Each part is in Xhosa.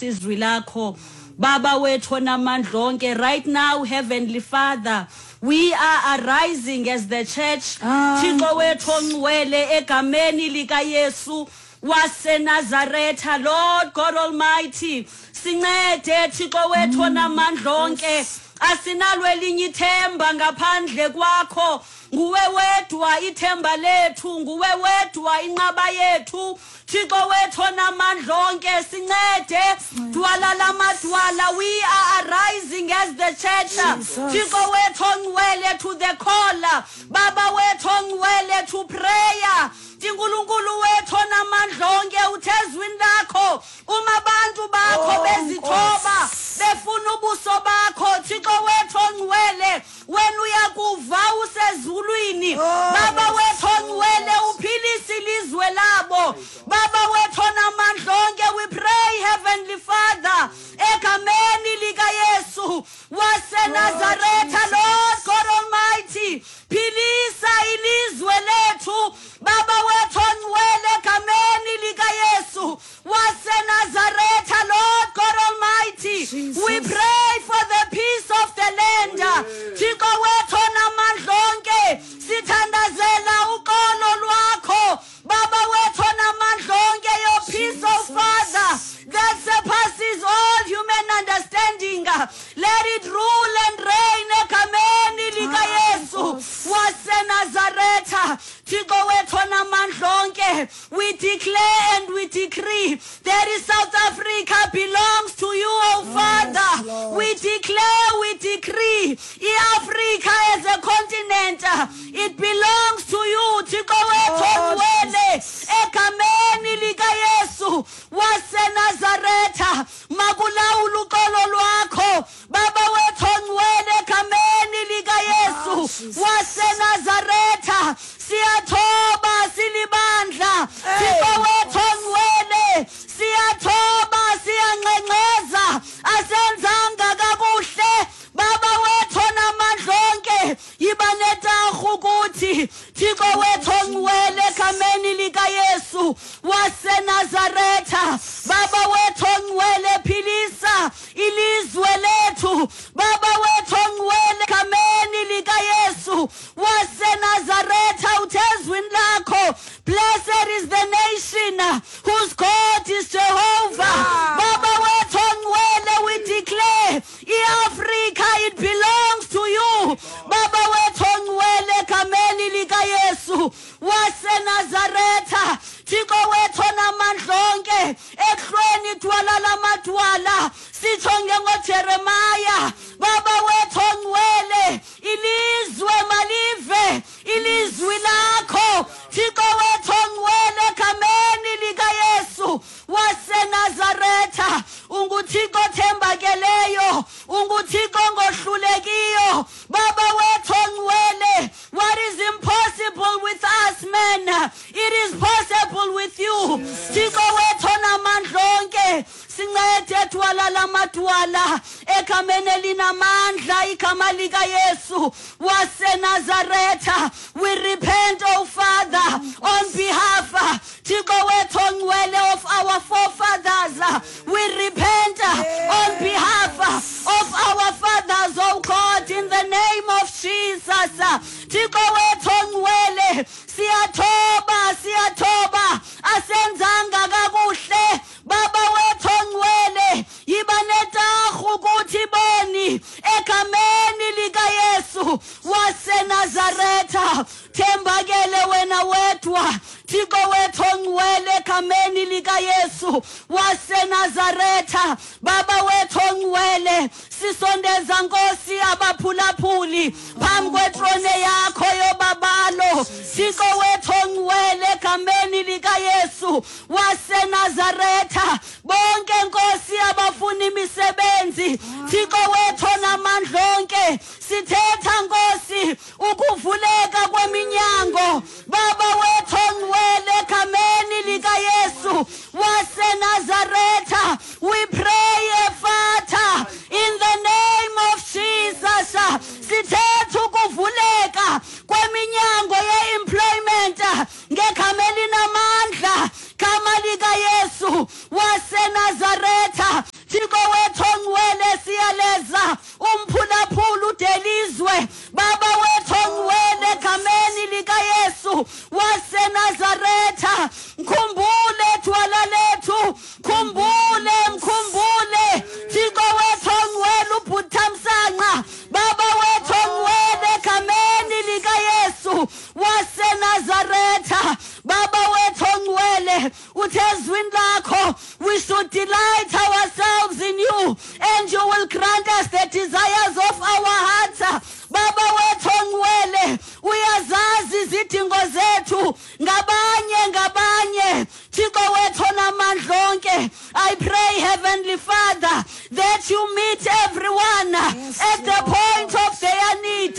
Nkosi izwi lakho. Baba wethu onamandla onke, right now, Heavenly Father, we are arising as the church. Thixo wethu ongcwele, egameni likaYesu waseNazaretha, Lord God Almighty, sincede, Thixo wethu onamandla onke. Asinalo elinye ithemba ngaphandle kwakho. Nguwe wedwa ithemba lethu, nguwe wedwa inqaba yethu. Thixo wethu onamandla onke, sincede. Dwala lamadwala, we are arising as the church. Thixo wethu ongcwele, to the call. Baba wethu ongcwele, to prayer. Nkulunkulu wethu onamandla onke, uthe ezwini lakho uma abantu bakho bezithoba, befuna ubuso bakho, Thixo wethu ongcwele, wena uyakuva usezulwini. Baba wethu ongcwele, uphilise ilizwe labo. Baba wethu onamandla onke, we pray, Heavenly Father, egameni likaYesu waseNazaretha, Lord God Almighty, philisa ilizwe lethu. Baba wethu ongcwele, egameni likaYesu waseNazaretha, Lord God Almighty, we pray for the peace of the land. Thixo wethu onamandla onke, sithandazela uxolo lwakho. Baba wethu onamandla onke, your peace, oh Father, that surpasses all human understanding, let it rule and reign egameni likaYesu waseNazaretha. Thixo wethu onamandla onke, we declare and we decree that is South Africa belongs to you, oh Father. We declare, we decree, iAfrica as a continent, it belongs to you. Thixo wethu ongcwele, egameni likaYesu waseNazaretha, makulawula uxolo lwakho. Baba wethu ongcwele, egameni likaYesu waseNazaretha, siyathoba silibandla. Thixo wethu ongcwele, siyathoba, siyangxengxeza, asenzanga kakuhle. Baba wethu onamandla onke, yiba netarhu kuthi. Thixo wethu ongcwele, egameni likaYesu waseNazaretha, Baba wethu ongcwele, philisa ilizwe lethu. Baba wethu ongcwele, egameni likaYesu waseNazaretha, uthe ezwini lakho, "Blessed is the nation whose God is Jehovah." Baba wethu ongcwele, we declare iAfrica, it belongs to you. Baba wethu ongcwele, egameni likaYesu waseNazaretha, Thixo wethu onamandla onke, ekuhlweni, dwala lamadwala, sitsho njengoJeremaya, Baba wethu ongcwele, ilizwe malive ilizwi lakho. Thixo wethu ongcwele, egameni likaYesu waseNazaretha, unguThixo othembakeleyo, unguThixo ongohlulekiyo. Baba wethu ongcwele, what is impossible with us men, it is possible with you. Thixo wethu onamandla onke, sincede, dwala lamadwala, egameni elinamandla, igama likaYesu waseNazaretha. We repent, oh Father, on behalf, Thixo wethu ongcwele, of our forefathers. We repent on behalf of our fathers, oh God, in the name of Jesus. Thixo wethu ongcwele, siyathoba, siyathoba, asenzanga kakuhle. Baba wethu ongcwele, yiba netarhu kuthi boni, egameni likaYesu waseNazaretha. Thembakele wena wedwa, Thixo wethu ongcwele, egameni likaYesu waseNazaretha. Baba wethu ongcwele, sisondeza, Nkosi, abaphulaphuli phambi kwetrone yakho yobabalo. Thixo wethu ongcwele, egameni likaYesu waseNazaretha, bonke, Nkosi, abafuna imisebenzi, Thixo wethu onamandla onke, sithetha, Nkosi, ukuvuleka kweminyango. Baba wethu ongcwele, egameni likaYesu waseNazaretha, we pray, Father, in the name of Jesus, sithetha ukuvuleka kweminyango ye-employment ngegama elinamandla, gama likaYesu waseNazaretha. lizwe. Baba wethu ongcwele, egameni likaYesu waseNazaretha, mkhumbule thwala lethu, khumbule, mkhumbule Thixo wethu ongcwele uBhuthamsanqa. Baba wethu ongcwele, egameni likaYesu waseNazaretha, Baba wethu ongcwele, uthe ezwini lakho we should delight ourselves in you and you will grant us the desires of our hearts. Baba wethu ongcwele, uyazazi izidingo zethu ngabanye ngabanye. Thixo wethu onamandla onke, I pray, Heavenly Father, that you meet everyone at the point of their need,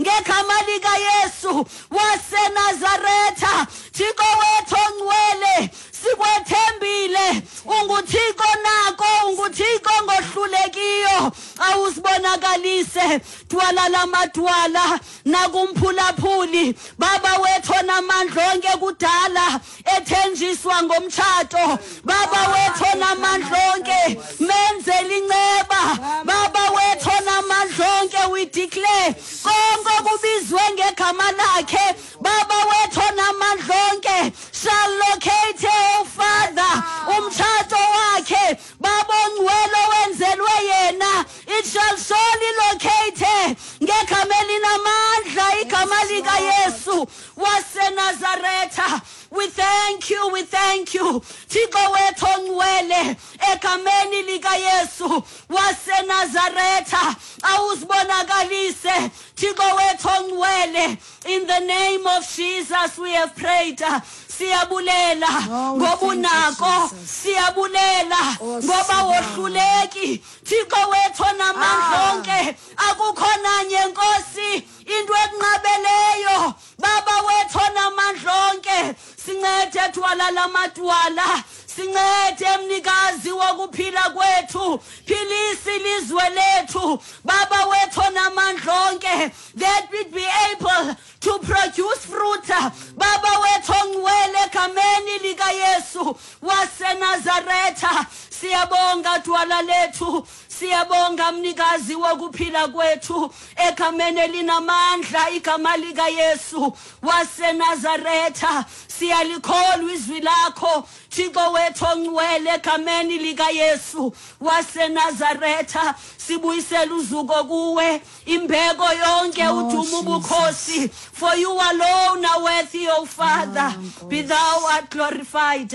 ngegama likaYesu waseNazaretha. Thixo wethu ongcwele, sikwethembile, unguThixo nako, unguThixo ngohlulekiyo. Awusibonakalise, dwala lamadwala nakumphulaphuli. Baba wethu onamandla onke, kudala ethenjiswa ngomtshato. Baba wethu onamandla onke, menzele inceba. Baba wethu onamandla onke, we declare konke okubizwe ngegama lakhe, Baba wethu onamandla onke, shall locate, oh Father, umtshato wakhe. Baba ongcwele, owenzelwe yena, it shall surely locate, ngegama elinamandla, igama likaYesu waseNazaretha. We thank you, we thank you, Thixo wethu ongcwele, egameni likaYesu waseNazaretha. Awuzibonakalise, Thixo wethu ongcwele. In the name of Jesus we have prayed. Siyabulela Oh, we ngoba thank you, unako. Jesus. Siyabulela Oh, ngoba sibonga. wohluleki, Thixo wethu onamandla onke. Akukho nanye, Nkosi, into ekunqabeleyo. Baba wethu onamandla onke, sincede, dwala lamadwala, sincede, mnikazi wokuphila kwethu. Philisa ilizwe lethu, Baba wethu onamandla onke, that we be able to produce fruit. Baba wethu ongcwele, egameni likaYesu waseNazaretha, siyabonga, dwala lethu, siyabonga, mnikazi wokuphila kwethu, egameni elinamandla, igama likaYesu waseNazaretha. Siyalikholwa izwi lakho, Thixo wethu ongcwele, egameni likaYesu waseNazaretha. Sibuyisela uzuko kuwe, imbeko yonke, Oh, udumo, Jesus. ubukhosi, for you alone are worthy, O Father. Be thou art glorified.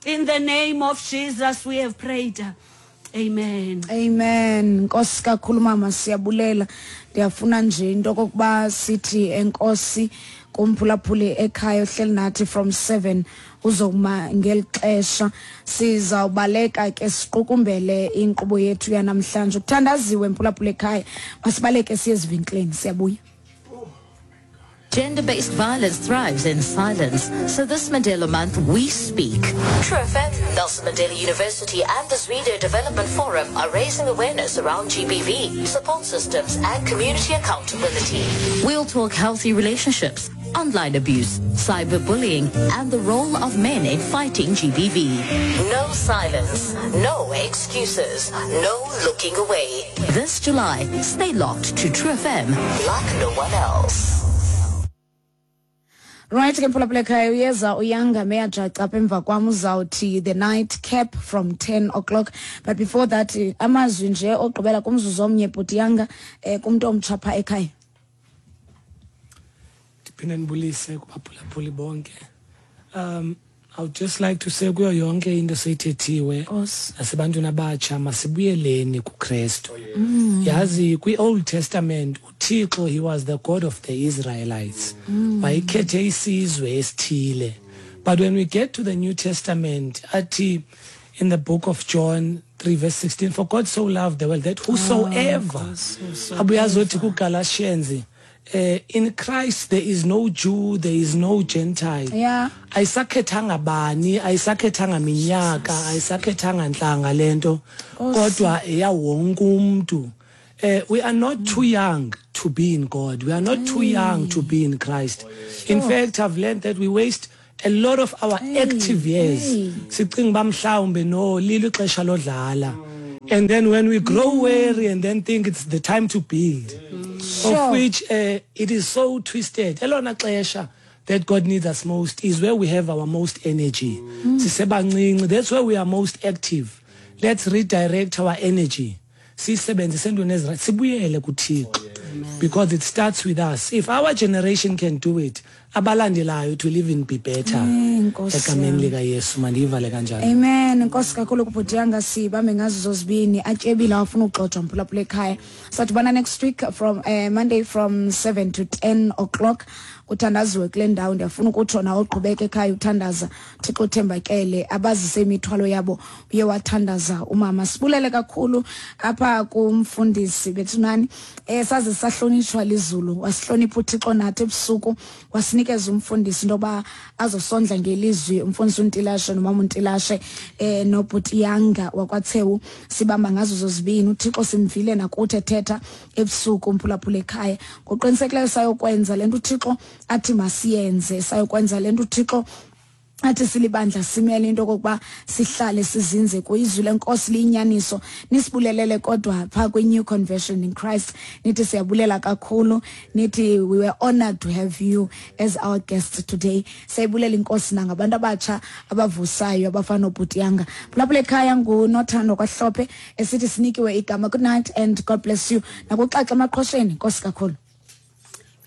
In the name of Jesus we have prayed. Amen. Amen. Nkosi kakhulu, mama, siyabulela. Ndiyafuna nje into okokuba sithi enkosi kumphulaphuli ekhaya ohleli nathi from 7 uzokuma ngeli xesha. Sizawubaleka ke siqukumbele inkqubo yethu yanamhlanje. Kuthandaziwe, mphulaphuli ekhaya. Masibaleke siye ezivenkileni, siyabuya. Gender based violence thrives in silence. So this Mandela Month, we speak. True FM, Nelson Mandela University, and the Zwide Development Forum are raising awareness around GBV, support systems, and community accountability. We'll talk healthy relationships, online abuse, cyberbullying, and the role of men in fighting GBV. No silence, no excuses, no looking away. This July, stay locked to True FM like no one else. Right ke, mphulaphula ekhaya, uyeza uYanga Meyajaca apha emva kwam, uzawuthi the night cap from 10 o'clock, but before that, amazwi nje ogqibela kumzuzu omnye, bhuti Yanga, kumntu omtsha phaa ekhaya. Ndiphinde ndibulise kubaphulaphuli bonke. I would just like to say kuyo yonke into eseyithethiwe Nkosi. nasebantwini abatsha, masibuyeleni kuKrestu. Yazi, kwi-Old Testament uThixo, he was the God of the Israelites, wayekhethe isizwe esithile. But when we get to the New Testament, athi in the book of John 3 verse 16, "For God so loved the world that whosoever," abuye azothi kuGalatians, "In Christ there is no Jew, there is no Gentile." Ayisakhethanga bani, ayisakhethanga minyaka, ayisakhethanga ntlanga lento, kodwa eya wonke umuntu. We are not too young to be in God. We are not too young to be in Christ. In fact, I've learned that we waste a lot of our active years sicinga uba mhlawumbe no lilo ixesha lodlala, and then when we grow weary and then think it's the time to build. Of which it is so twisted. Elona xesha that God needs us most is where we have our most energy. Sisebancinci, that's where we are most active. Let's redirect our energy. Siyisebenzise entweni ezirayithi, sibuyele kuThixo. Because it starts with us. If our generation can do it, abalandelayo it will even be better. Nkosi Egameni yam. likaYesu, mandiyivale kanjalo. Amen. Nkosi kakhulu kubhutiyanga, sibambe ngazo zozibini. Atyebile, awafuna ugxojwa mphulaphula ekhaya. Sadibana next week from Monday from 7 to 10 o'clock. Kuthandaziwe kule ndawo. Ndiyafuna ukutsho nawe uqhubeke ekhaya uthandaza. Thixo uthembakele, abazise imithwalo yabo, uye wathandaza umama. Sibulele kakhulu apha kumfundisi bethunani. Saze sahlonitshwa lizulu, wasihlonipha uThixo nathi ebusuku, wasinikeza umfundisi into yoba azosondla ngelizwi, umfundisi uNtilashe nomama uNtilashe, nobhuti Yanga wakwaThewu. Sibamba ngazo zozibini. uThixo simvile nakuthi ethetha ebusuku umphulaphula ekhaya. Ngokuqinisekileyo sayokwenza le nto uThixo athi masiyenze, sayokwenza le nto uThixo athi silibandla simele into okokuba sihlale sizinze kwizwi lenkosi liyinyaniso. Nisibulelele kodwa phaa kwi-New Conversion in Christ, nithi siyabulela kakhulu, nithi we were honored to have you as our guest today. Siyayibulela inkosi nangabantu abatsha abavusayo abafana noBhutiyanga. Phulaphula ekhaya, nguNothando Kwahlophe esithi sinikiwe igama. Good night and God bless you. Nakuxaxa emaqhosheni, nkosi kakhulu.